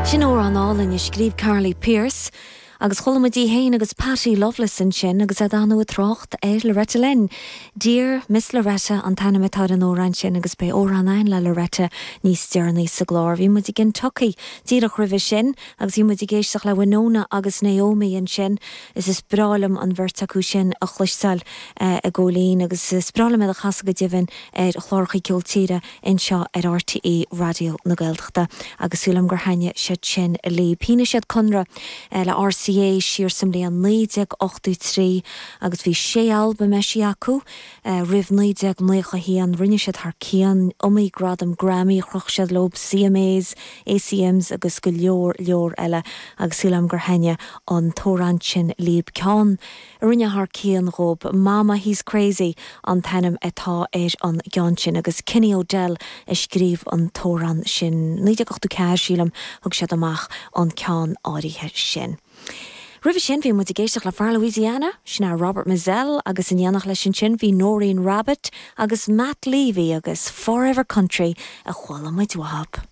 Sin amhrán álainn a scríobh Carly Pearce agus chuala muid í féin agus Patty Loveless ansin agus iad ar ndóigh ag trácht ar Loretta Lynn. Dear Miss Loretta an t-ainm atá ar an amhrán sin agus beidh amhrán againn le Loretta níos deireanaí sa gclár. Bhí muid i gKentucky díreach roimhe sin agus bhí muid ag éisteacht le Winona agus Naomi ansin. Is is breá liom an bheirt acu sin a chloisteáil a Ghóilín agus is breá liom iad a chasadh go deimhin ar chláracha ceol tíre anseo ar RTÉ Raidió na Gaeltachta agus súil agam gur thaitnigh siad sin libh. Shínigh siad conradh le RCA siar sa mbliain 1983 agus bhí sé albam eisithe acu roimh 1991. Rinne siad thar cionn iomaí gradam Grammy, chroch siad leo CMAs, ACMs agus go leor leor eile agus súil agam gur thaitnigh an t-amhrán sin libh. Ceann a rinne thar cionn dhóibh. Mama He's Crazy an t-ainm atá ar an gceann sin agus Kenny O'Dell a scríobh an t-amhrán sin. 1984, sílim, thug siad amach an ceann áirithe sin. Roimhe sin bhí muid ag éisteacht le fear Louisiana, sin é Robert Mizzell agus in éineacht leis ansin bhí Noreen Rabbitt agus Matt Levy agus Forever Country a chuala muid uathub.